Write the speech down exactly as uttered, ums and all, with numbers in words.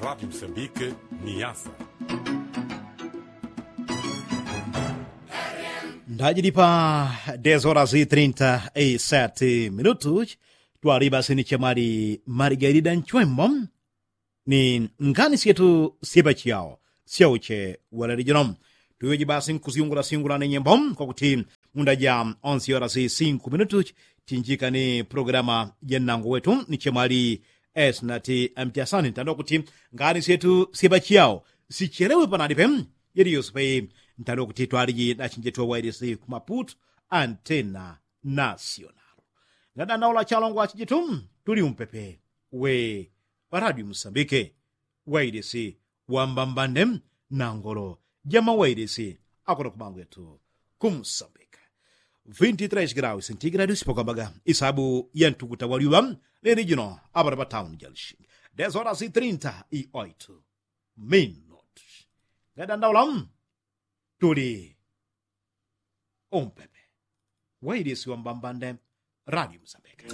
Radi msambike ni yasa. Ndajili pa dez horas i trinta i seti minutu. Twali basi ni chemwali margarida nchwembo ni ngani syetu syepa chiyao syauche walali jino. Tuyoji basi nkusyungula syungula ni nyembo kwakuti munda ja onsi horas i sinku minutu chinjika ni programa ja nnango wetu ni chemwali esnati mtiasani ntando kuti ngani syetu syepa chiyao sichelewe panalipe. Yeli yose pe ntando kuti twaliji nachinje tuwa wailisi kumaputu antena nasional. Ngadandaula chalongo achijitu tuli umpepe we radio musambike wailisi wambambande nangolo jama wailisi akono kumangu yetu kumusambika. Vinti tres graus sentigradu sipokambaga isabu yantukuta waliwa leli jino abana patauni jalishingi dez horas i trinta i oitu minutu. Ngadandaula tuli umpepe wailisi wambambande radio musambika.